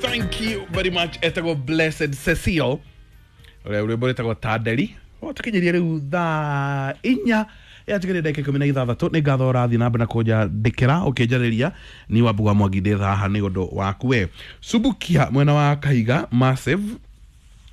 Thank you very much. Etagwo Blessed Cecile, ũrĩa rwĩmbo rwĩtagwo Tanderi. Tũkinyĩrie rĩu thaa 4 yatigarire ndagĩka 16. Nĩ ngatho ũrathiĩ na mbere na kũnjandĩkĩra ũkĩnjarĩria. Ni Wambugu wa Mwangi, ndĩ haha nĩ ũndũ waku we. Subukia mwena wa Kahiga Massive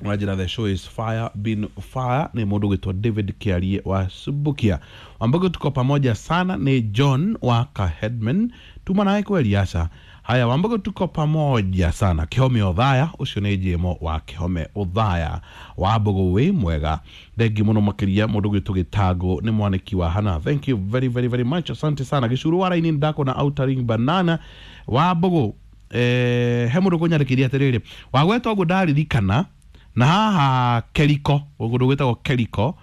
wanjĩra the show is fire been fire. Nĩ mũndũ gwĩtwo David Kĩarie wa Subukia. Wambugu, tuko pamoja sana. Nĩ John wa Kahedman, tuma nawe kweli aca. Haya, Wambugu, tuko pamoja sana. Kĩhome Ũthaya, ũcio nĩ Jemo wa Kĩhome Ũthaya. Wambugu, wĩ mwega? Thengi mũno makĩria. Mũndũ gwĩtwo Gĩtango nĩ mwanĩki wa hana. Thank you very very very much, asante sana. Gĩcuru wa raini ndakona Outering Banana. Wambugu, he mũndũ kũnyandĩkĩria atĩrĩrĩ, wagweta ũguo ndaririkana na haha Keriko, kũndũ gwĩtagwo Keriko,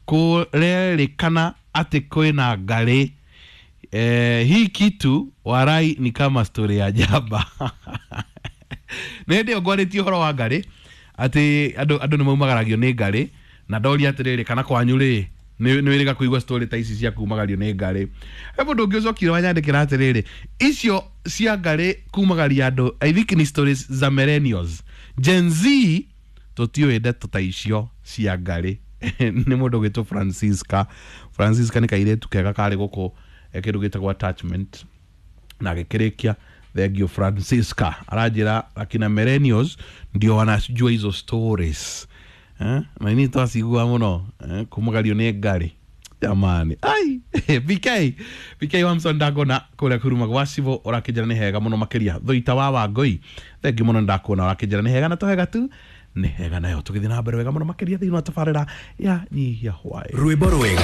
kũrerĩkana atĩ kwĩna ngarĩ. Hii kitu warai ni kama story ya jaba. Nĩ hĩndĩ ĩyo ngwarĩtie ũhoro wa ngarĩ, atĩ andũ nĩ maumagaragio nĩ ngarĩ, na ndoria atĩrĩrĩ, kana kwanyu rĩ, nĩ wĩrĩga kũigua story ta ici cia kumagario nĩ ngarĩ? He mũndũ ũngĩ ũcokire wanyandĩkĩra atĩrĩrĩ, icio cia ngarĩ kumagaria andũ, I think ni stories za millennials, Gen Z tũtiũĩ ndeto ta icio cia ngarĩ. Nĩ mũndũ ũgwĩtwo Francisca. Francisca nĩ kairĩtu kega karĩ gũkũ, kĩndũ gĩtagwo attachment na agĩkĩrĩkia. Thank you, Francisca. Aranjĩra akina millennials ndio wanajua hizo stories, eh? Na ini twacigua mũno, eh? Kumagario nĩ ngarĩ jamani. Ai, BK BK Wamson, ndakona kũrĩa kuruma gwa civo, ũrakĩnjĩra nĩ hega mũno makĩria. Thũita wa Wangũi, thengi mũno, ndakuona ũrakĩnjĩra nĩ hega na tũhega tu nĩ hega nayo. Tũgĩthiĩ na mbere wega mũno makĩria thĩinĩ wa tabarĩra ya Nyihia Hwaĩ. Rwĩmbo rwega.